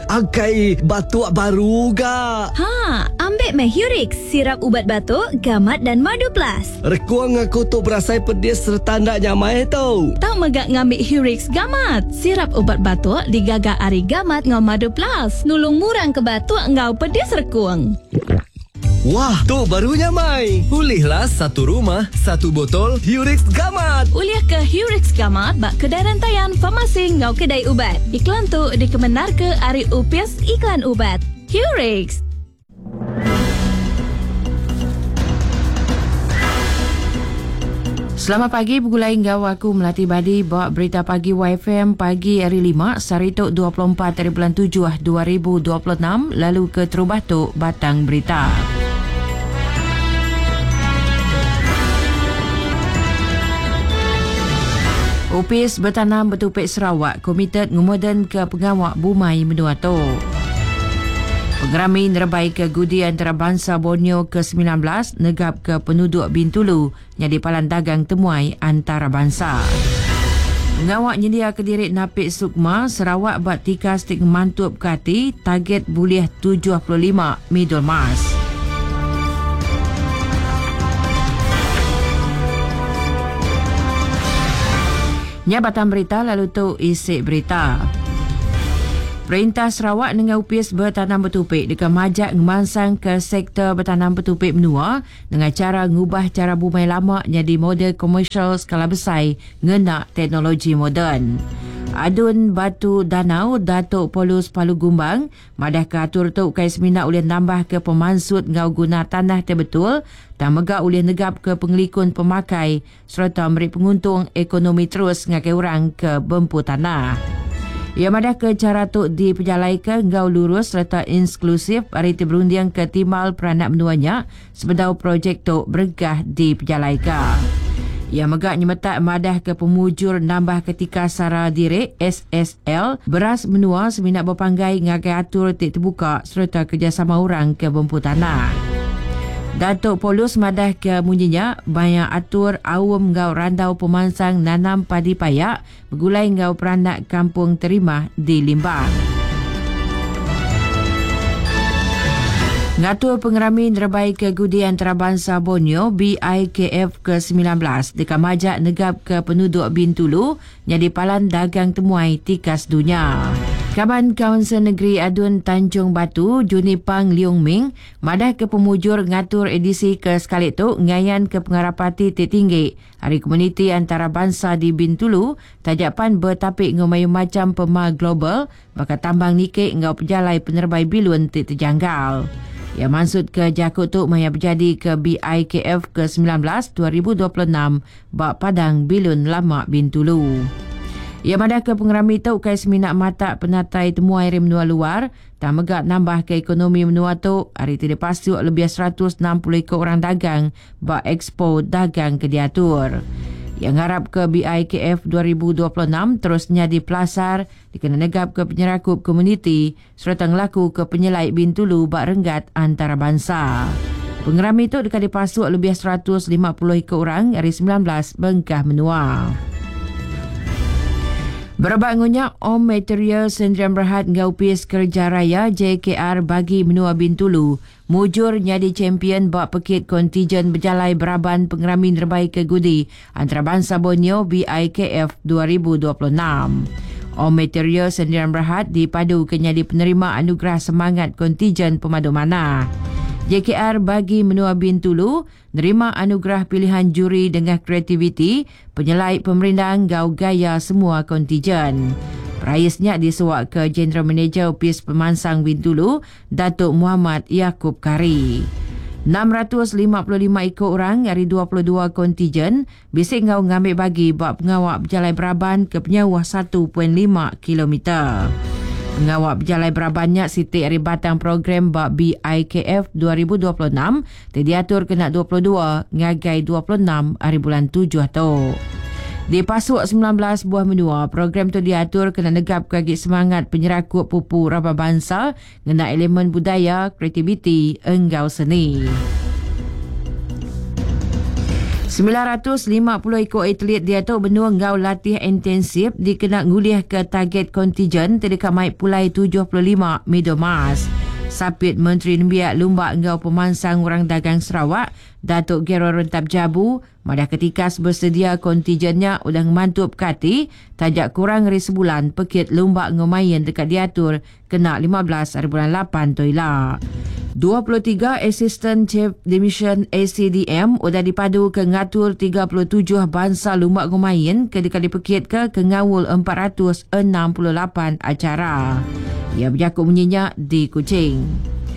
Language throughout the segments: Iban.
Akai batuk baru ga. Ha, ambik meh Hurix, sirap ubat batuk, gamat dan madu plus. Rekung aku tu berasai pedis sereta enda nyamai tu. Tau mega ngambi Hurix Gamat, sirap ubat batuk digaga ari gamat enggau madu plus, nulung ngurang ke batuk enggau pedis rekung. Wah, tu baru nyamai. Ulihlah satu rumah, satu botol Hurix Gamat. Ulih ke Hurix Gamat ba kedai rentayan, farmasi enggau kedai ubat. Iklan tu dikemendarka ari Opis Iklan Ubat. Hurix. Selamat pagi begulai enggau aku Melati Badi ba Berita Pagi YFM pagi hari lima sehari tu 24 hari bulan 7 2026 lalu ke terubah tu batang berita. Opis Betanam Betupi Sarawak komited ngemoden ke pengawa bumai menua tu. Pengerami nerebai ke Gudi Antarabansa Borneo ke-19 negap ke penuduk Bintulu nyadi palan dagang temuai antarabansa. Pengawa nyendiaka diri napi Sukma, Sarawak ba tikas ti ngemantupka ati target bulih 75 midul mas. Nya batang berita lalu tu isi berita. Perintah Sarawak nengah Opis Betanam Betupi deka majak ngemansangka sektor betanam betupi menua Nengah chara ngubah chara bumai lama nyadi model komersial skala besai ngena teknologi moden. Adun Batu Danau, Datuk Paulus Palu Gumbang madahka atur tu ukai semina ulih nambahka pemansut enggau guna tanah ti betul tang mega ulih negapka pengelikun pemakai sereta meri penguntung ekonomi terus ngagai orang ke bempu tanah. Iya madahka chara tu dipejalaika enggau lurus sereta inklusif ari ti berundingka timbal peranak menua nya sebedau projek tu berengkah dipejalaika. Iya mega nyemetak madahka pemujur nambahka tikas sara diri, SSL, beras menua semina bepanggai ngagai atur ti tebuka sereta kerejasama orang ke bempu tanah. Datuk Paulus madahka munyi nya maya atur aum enggau randau pemansang nanam padi payak begulai enggau peranak Kampung Terimah di Limbang. Ngatur pengerami nerebai ke Gudi Antarabansa Borneo BIKF ke 19 deka majak negapka penuduk Bintulu nyadi palan dagang temuai tikas dunya. Kaban Kaunsil Negeri Adun Tanjung Batu, Juni Pang Leong Ming, madahka pemujur ngatur edisi ke sekali tu ngayanka pengarap ati ti tinggi ari komuniti antarabansa di Bintulu taja pan betapi enggau mayuh macham pemar global baka tambang niki enggau pejalai penerebai bilun ti tejanggal. Iya mansutka jaku tu maya bejadika BIKF ke 19 2026 ba Padang Bilun Lama Bintulu. Iya madahka pengerami tu ukai semina matak penatai temuai ari menua luar tang mega nambahka ekonomi menua tu ari ti dipasuk lebih 160 iku orang dagang ba ekspo dagang ke diatur. Iya ngarapka BIKF 2026 terus nyadi pelasar dikena negapka penyerakup komuniti sereta ngelakuka penyelai Bintulu ba renggat antarabansa. Pengerami tu deka dipasuk lebih 150 iku orang ari 19 bengkah menua. Berebak enggau nya, Om Material Sendirian Berhad enggau Opis Kereja Raya JKR Bagi Menua Bintulu mujur nyadi champion ba pekit kontijen bejalai beraban Pengerami Nerebai Ke Gudi Antarabansa Borneo BIKF 2026. Om Material Sendirian Berhad dipadu ke nyadi penerima anugerah semangat kontijen pemadu manah. JKR bagi menua Bintulu nerima anugerah pilihan juri dengah kreativiti, penyelai pemerindang enggau gaya semua kontijen. Perais nya disuaka General Manager Opis Pemansang Bintulu, Datuk Muhammad Yaakob Kari. 655 iku orang ari 22 kontijen bisi enggau ngambi bagi ba pengawa bejalai beraban ke penyauh 1.5 kilometer. Pengawa bejalai beraban nya siti ari batang program ba BIKF 2026 ti diatur kena 22 ngagai 26 hari bulan tujuh tu. Dipasuk 19 buah menua, program tu diatur kena negapka agi semangat penyerakup pupu raban bansa ngena elemen budaya, kreativiti enggau seni. 950 iku atlet diatu benung enggau latih intensif dikena ngulihka target kontijen ti deka mai pulai 75 midul emas. Sapit Menteri Nembiak Lumba enggau Pemansang Orang Dagang Sarawak, Datuk Gerald Rentap Jabu, madahka tikas besedia kontijen nya udah ngemantupka ati taja kurang ari sebulan pekit lumba enggau main deka diatur kena 15 ari bulan lapan tu ila. 23 Assistant Chief Division ACDM udah dipaduka ngatur 37 bansa lumba enggau main ke deka dipekitka ke ngaul 468 acara. Iya bejaku munyi nya di Kuching.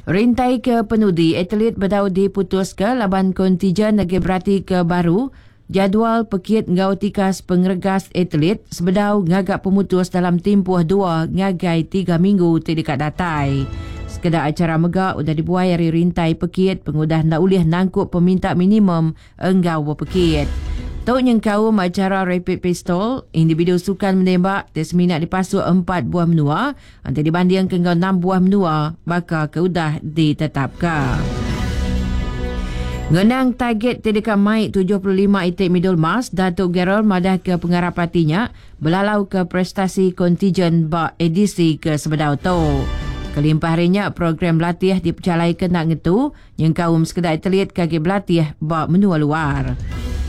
Rintai ke penudi atlet bedau diputuska laban kontijen agi beratika baru Jadual pekit enggau tikas pengeregas atlet sebedau ngaga pemutus dalam timpuh dua ngagai tiga minggu ti deka datai. Sekeda acara mega udah dibuai ari rintai pekit pengudah enda ulih nangkup peminta minimum enggau bepekit. Tu nyengkaum acara Rapid Pistol, individu sukan menembak ti semina dipasuk empat buah menua Enti dibandingka enggau enam buah menua baka ke udah ditetapka. Ngenang target ti deka mai 75 iti midul emas, Datuk Gerald madahka pengarap ati nya belalauka prestasi kontijen ba edisi ke sebedau tu. Kelimpah ari nya, program latih dipejalaika enda ngetu nyengkaum sekeda atlet ke agi belatih ba menua luar.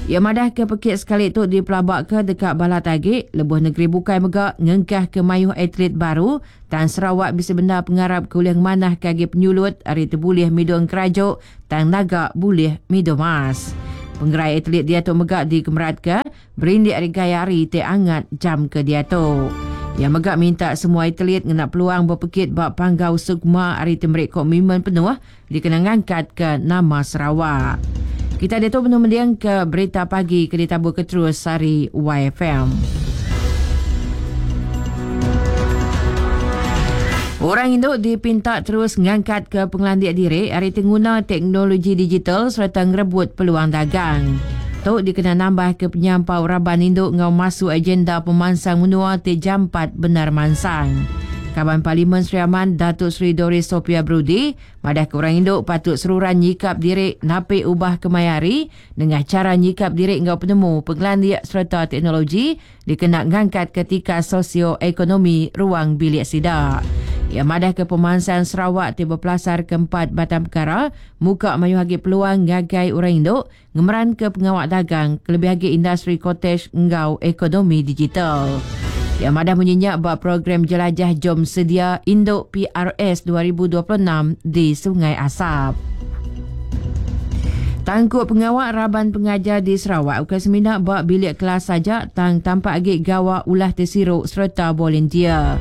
Iya madahka pekit sekali tu dipelabaka deka balat agi lebuh negeri bukai mega ngengkahka mayuh atlet baru tang Sarawak bisi bendar pengarap ke ulih ngemanahka agi penyulut ari tebulih midung kerajuk tang naga bulih midul mas. Pengerai atlet diatu mega dikemeratka Berindik ari gaya hari ti angat jam ke diatu. Iya mega minta semua atlet ngena peluang bepekit ba Panggau Sukma ari ti meri komitmen penuh dikena ngangkatka nama Sarawak. Kita diatu benung mendingka berita pagi ke ditaburka terus ari YFM. Orang indu dipinta terus ngangkatka pengelandik diri ari ti nguna teknologi digital sereta ngerebut peluang dagang. Tu dikena nambahka penyampau raban indu enggau masu agenda pemansang menua ti jampat bendar mansang. Kaban Parlimen Sri Aman Datuk Seri Doris Sophia Brudi madahka orang indu patut seruran nyikap diri napi ubah kemaya hari nengah chara nyikap diri enggau penemu, pengelandik sereta teknologi dikena ngangkatka tikas sosio-ekonomi ruang bilik sida. Iya madahka pemansang Sarawak ti bepelasarka empat batang pekara muka mayuh agi peluang ngagai orang indu ngemeranka pengawa dagang kelebih agi industri kotej enggau ekonomi digital. Iya madah munyi nya ba program Jelajah Jom Sedia Indu PRS 2026 di Sungai Asap. Tangkup pengawa raban pengajar di Sarawak ukai semina ba bilik kelas aja tang tampak agi gawa ulah ti siru sereta volunteer.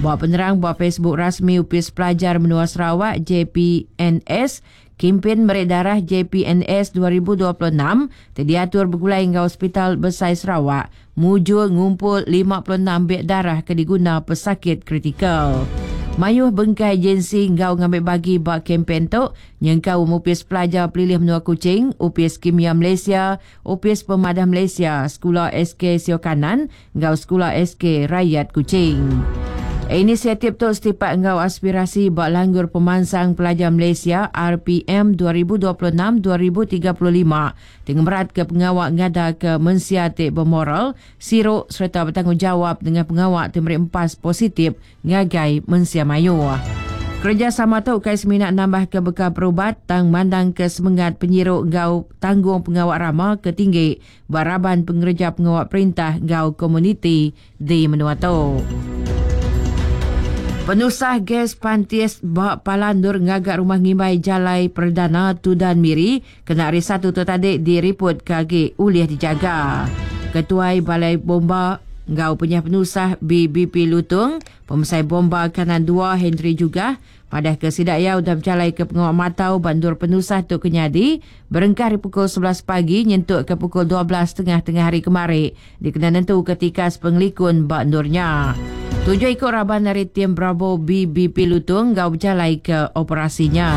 Ba penerang ba Facebook rasmi Opis Pelajar Menua Sarawak, JPNS, Kimpin Meri Darah JPNS 2026 ti diatur begulai enggau Sepital Besai Sarawak mujur ngumpul 56 beg darah ke diguna pesakit kritikal. Mayuh bengkah agensi enggau ngambi bagi ba kempen tu nyengkaum Opis Pelajar Pelilih Menua Kuching, Opis Kimia Malaysia, Opis Pemadah Malaysia, Sekula SK Sio Kanan enggau Sekula SK Rakyat Kuching. Inisiatif tu setipak enggau aspirasi ba Langgur Pemansang Pelajar Malaysia, RPM, 2026-2035 ti ngemeratka pengawa ngadaka mensia ti bemoral, siru sereta betanggungjawap nengah pengawa ti meri empas positif ngagai mensia mayuh. Kerejasama tu ukai semina nambahka bekal perubat tang mandangka semengat penyiru enggau tanggung pengawa rama ke tinggi ba raban pengereja pengawa perintah enggau komuniti di menua tu. Penusah gas pantis ba palan endur ngaga rumah ngimbai Jalai Perdana Tudan Miri kena Hari Satu tu tadi diripotka agi ulih dijaga. Ketuai Balai Bomba enggau Penyah Penusah BBP Lutong, Pemesai Bomba Kanan Dua Henry Jugah Madahka sida iya udah bejalaika pengawa matau ba endur penusah tu ke nyadi berengkah ari pukul 11 pagi nyentuk ke pukul 12 tengah tengah hari kemari dikena nentuka tikas pengelikun ba endur nya. Tujuh iku raban ari tim Bravo BBP Lutung enggau bejalaika operasi nya.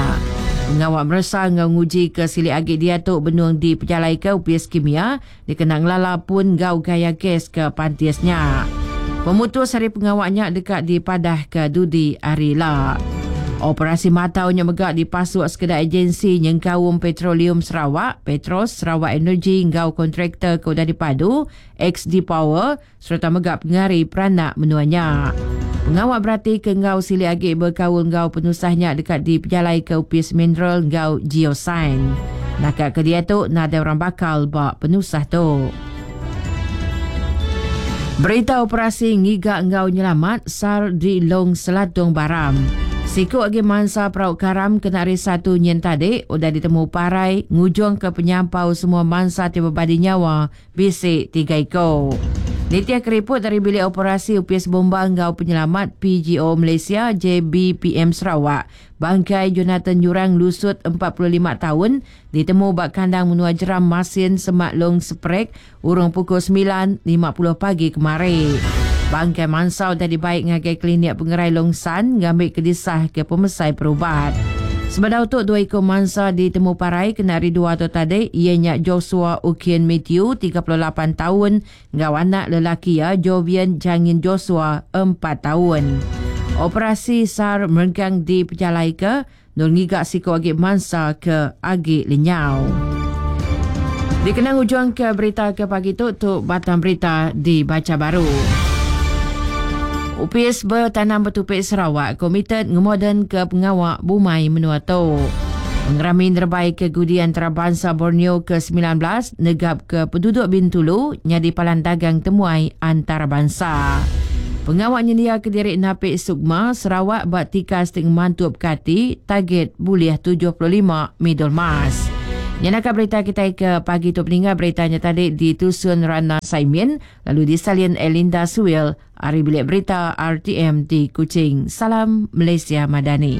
Pengawa meresa enggau nguji ke silik agi diatu benung dipejalaika Opis Kimia dikena ngelala pun enggau gaya gas ke pantis nya. Pemutus ari pengawa nya deka dipadahka dudi hari ila. Operasi matau nya mega dipasuk sekeda agensi nyengkaum Petroleum Sarawak, Petros, Sarawak Energy enggau kontraktor ke udah dipadu, XD Power, sereta mega pengari peranak menua nya. Pengawa beratika enggau silik agi bekaul enggau penusah nya deka dipejalaika Opis Mineral enggau Geosains. Naka ke diatu nadai orang bakal ba penusah tu. Berita operasi ngiga enggau nyelamat SAR di Long Selatung Baram. Siku agi mansa perau karam kena hari Satu nyin tadi udah ditemu parai ngujungka penyampau semua mansa ti bebadi nyawa bisi tiga iku. Nitihka riput ari Bilik Operasi Opis Bomba enggau Penyelamat PGO Malaysia JBPM Sarawak, bangkai Jonathan Nyurang lusut 45 taun ditemu ba kandang menua Jeram Masin semak Long Seprek urung pukul 9.50 pagi kemari. Bangkai mansa udah dibai ngagai Klinik Pengerai Long San ngambika disahka pemesai perubat. Sebedau tu dua iku mansa ditemu parai kena hari Dua tu tadi iya nya Joshua Ukien Mathew, 38 taun enggau anak lelaki iya Jovian Jangin Joshua, empat taun. Operasi SAR merengkang dipejalaika Endur ngiga siku agi mansa ke agi lenyau. Dikena ngujungka berita ke pagi tu, tu batang berita dibacha baru. Opis Betanam Betupi Sarawak komited ngemodenka pengawa bumai menua tu. Pengerami nerebai ke Gudi Antarabansa Borneo ke 19 negapka penduduk Bintulu nyadi palan dagang temuai antarabansa. Pengawa nyendiaka diri napi Sukma, Sarawak ba tikas ti ngemantup ke ati, target bulih 75 midul mas. Nyenaka berita kitai ke pagi tu peninga berita nya tadi ditusun Rana Saimin lalu disalin Elinda Suil ari Bilik Berita RTM di Kuching. Salam Malaysia Madani.